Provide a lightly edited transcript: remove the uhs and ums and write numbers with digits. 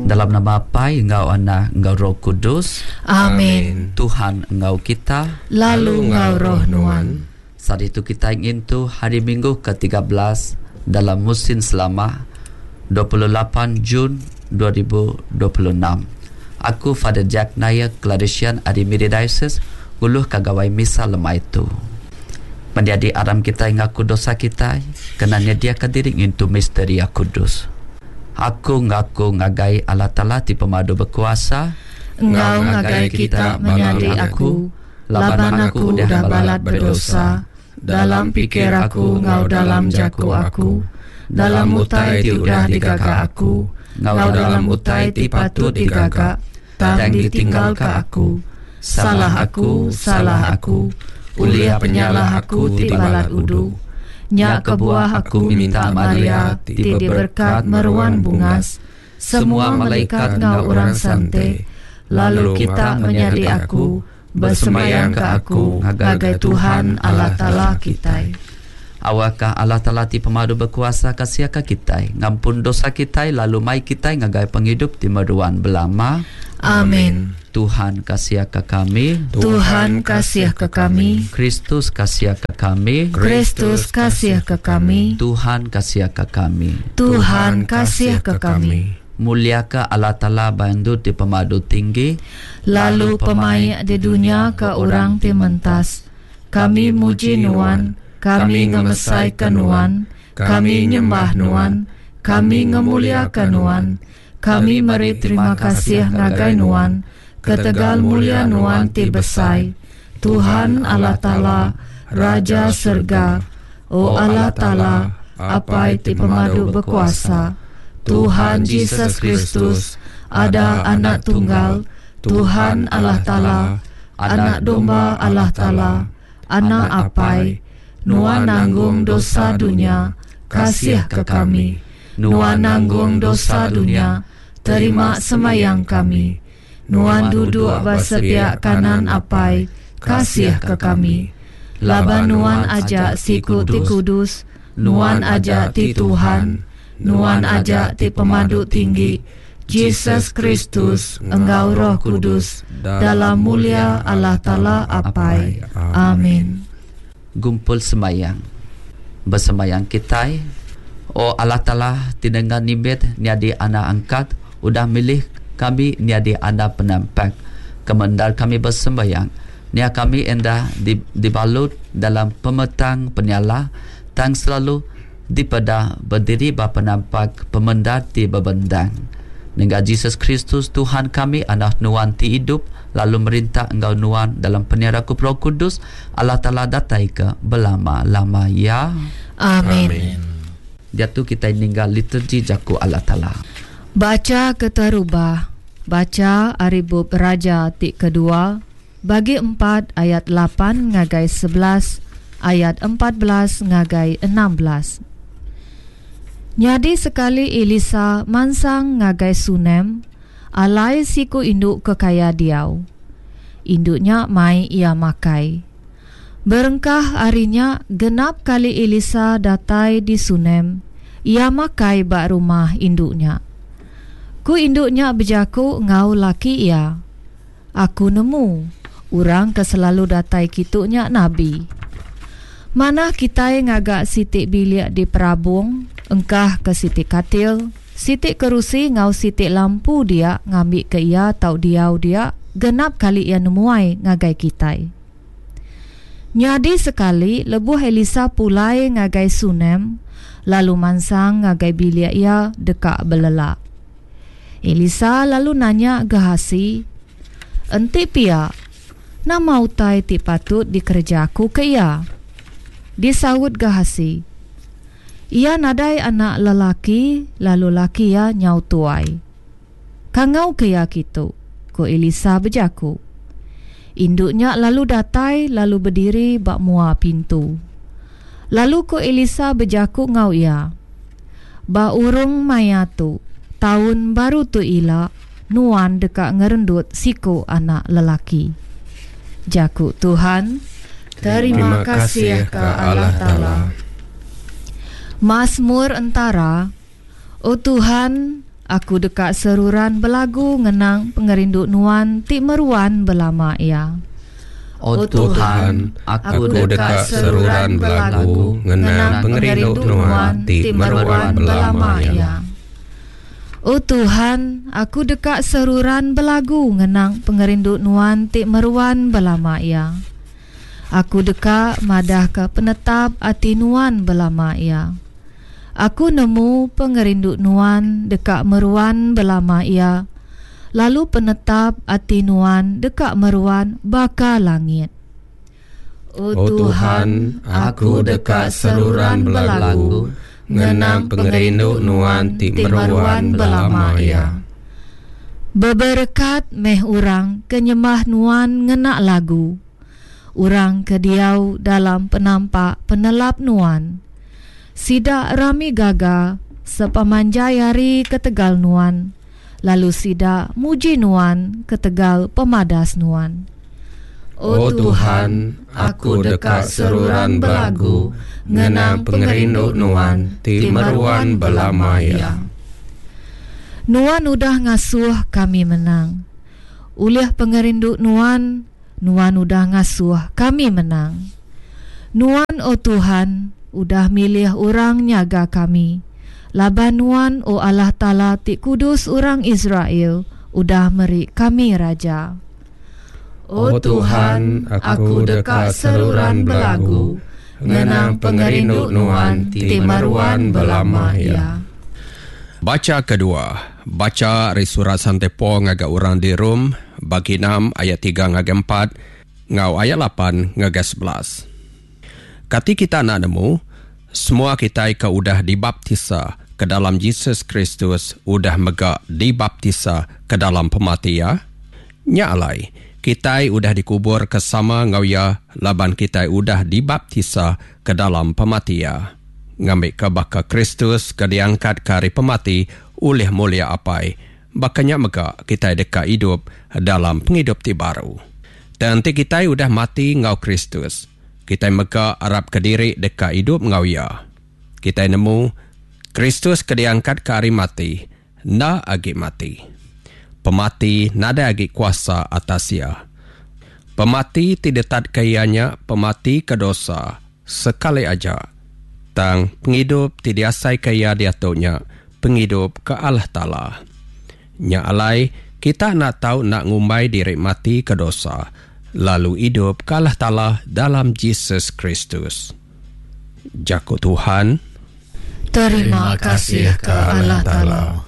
Dalam nama Apai enggau Anak enggau Roh Kudus. Amin. Tuhan enggau kita. Lalu enggau roh nuan. Saritu kitai ngintu Hari Minggu ke 13 dalam musin selama 28 Jun 2026. Aku Father Jack Nair, Claretian ari Miri Diocese, nguluhka gawai misa lemai tu. Menyadi aram kitai ngaku dosa kitai kena nyediaka diri ngintu misteri kudus. Aku ngaku ngagai Allah Taala ti pemadu bekuasa, Enggau ngagai kita menyadi aku, laban aku udah balat bedosa dalam pikir aku enggau dalam jaku aku, dalam utai ti udah digaga aku, enggau dalam utai ti patut digaga tang ditinggalka aku. Salah aku, salah aku, ulih penyalah aku ti balat udu. Nya kebuah aku minta Maria ti diberkat meruan bungas, semua malaikat enggau orang sante, lalu kita menyadi aku, besembayangka aku ngagai Tuhan Allah Taala kitai. Awakka Allah Taala ti pemadu bekuasa kasihka kitai, ngampun dosa kitai lalu mai kitai ngagai pengidup ti meruan belama. Amin. Tuhan kasihka kami. Tuhan kasihka kami. Kristus kasihka kami. Kristus kasihka kami. Tuhan kasihka kami. Tuhan kasihka kami. Muliaka Allah Taala ba endur ti pemadu tinggi, lalu pemaik di dunya ke orang ti mentas. Kami muji Nuan, kami ngemesaika Nuan, kami nyembah Nuan, kami ngemuliaka Nuan, kami meri terima kasih ngagai Nuan ketegal mulia Nuan ti besai, Tuhan Allah Taala, Raja serega, O Allah Taala, Apai ti pemadu bekuasa, Tuhan Jesus Kristus, ada Anak Tunggal, Tuhan Allah Taala, Anak Domba Allah Taala, Anak Apai, Nuan nanggung dosa dunya, kasihka kami. Nuan nanggung dosa dunya, terima semayang kami. Nuan duduk ba sepiak kanan Apai, kasihka kami. Laban Nuan aja siku ti kudus, Nuan aja ti Tuhan, Nuan aja ti Pemadu Tinggi, Jesus Kristus, enggau Roh Kudus, dalam mulia Allah Taala Apai. Amin. Gumpul sembayang. Besembayang kitai, O Allah Taala ti nengah nimbit nyadi anak angkat udah milih kami nyadi anak penampak. Kemendar kami besembayang, nya kami enda dibalut dalam pemetang penyalah tang selalu dipeda bediri ba penampak pemendar ti bebendang. Nengah Jesus Kristus Tuhan kami Anak Nuan ti idup lalu merintah enggau Nuan dalam penyerakup Roh Kudus, Allah Taala datai ke belama-lama iya. Amin. Diatu kitai ningga liturgi jaku Allah Taala. Bacha keterubah, Bacha ari bup Raja ti kedua, bagi empat ayat lapan ngagai 11, ayat 14 ngagai 16. Nyadi sekali Elisa mansang ngagai Sunem, alai siku indu ke kaya diau. Indu nya mai iya makai. Berengkah ari nya genap kali Elisa datai di Sunem, iya makai ba rumah indu nya. Ku indu nya bejaku enggau laki iya, Aku nemu, orang ke selalu datai kitu nya nabi. Manah kitai ngaga siti bilik di perabung, engkah ke siti katil, siti kerusi enggau siti lampu dia ngambika iya tau diau dia genap kali iya nemuai ngagai kitai. Nyadi sekali lebuh Elisa pulai ngagai Sunem lalu mansang ngagai bilik iya deka belelak. Elisa lalu nanya Gehasi, Enti pia, nama utai ti patut dikereja aku ke iya? Disaut Gehasi, Iya nadai anak lelaki lalu laki iya nyau tuai. Kangauka iya kitu, ku Elisa bejaku. Indu nya lalu datai lalu bediri ba mua pintu. Lalu ku Elisa bejaku enggau iya, Ba urung maya tu, taun baru tu ila, nuan deka ngerendut siku anak lelaki. Jaku Tuhan. Terima kasih ke Allah Taala. Masmur entara, O Tuhan, Aku deka seruran belagu ngenang pengerindu Nuan ti meruan belama iya. O Tuhan, aku deka seruran belagu ngenang pengerindu Nuan ti meruan belama iya. O Tuhan, aku deka seruran belagu ngenang pengerindu Nuan ti meruan belama iya. Aku deka madahka penetap ati Nuan belama iya. Aku nemu pengerindu Nuan deka meruan belama iya, lalu penetap ati Nuan deka meruan baka langit. O Tuhan, aku deka seruran belagu ngenang pengerindu Nuan ti meruan belama iya. Beberekat meh orang ke nyembah Nuan ngena lagu. Orang ke diau dalam penampak penelap Nuan. Sida rami gaga sepemanjai hari ketegal Nuan, lalu sida muji Nuan ketegal pemadas Nuan. O Tuhan, aku deka seruran belagu ngenang pengerindu Nuan ti meruan belama iya. Nuan udah ngasuh kami menang. Ulih pengerindu Nuan, Nuan udah ngasuh kami menang. Nuan, O Tuhan, udah milih orang nyaga kami, laban Nuan, O Allah Taala ti kudus orang Israel, udah meri kami raja. O Tuhan, aku deka seruran belagu ngenang pengerindu Nuan ti meruan belama iya. Bacha kedua, Bacha ari surat Sante Paul ngagai orang di Rome, bagi enam ayat tiga ngagai empat enggau ayat lapan ngagai 11. Kati kita enda nemu, semua kitai ke udah dibaptisa ke dalam Jesus Kristus udah mega dibaptisa ke dalam pemati iya? Nya alai, kitai udah dikuburka sama enggau iya laban kitai udah dibaptisa ke dalam pemati iya, ngambika baka Kristus ke diangkatka ari pemati ulih mulia Apai, baka nya mega kitai deka idup dalam pengidup ti baru. Tang enti kitai udah mati enggau Kristus, kitai mega arapka diri deka idup enggau iya. Kitai nemu, Kristus ke diangkatka ari mati enda agi mati. Pemati nadai agi kuasa atas iya. Pemati ti ditatka iya nya pemati ke dosa sekali aja. Tang pengidup ti diasaika iya diatu nya pengidup ke Allah Taala. Nya alai, kita enda tau enda ngumbai diri mati ke dosa, lalu idup ke Allah Taala dalam Jesus Kristus. Jaku Tuhan. Terima kasih ke Allah Taala.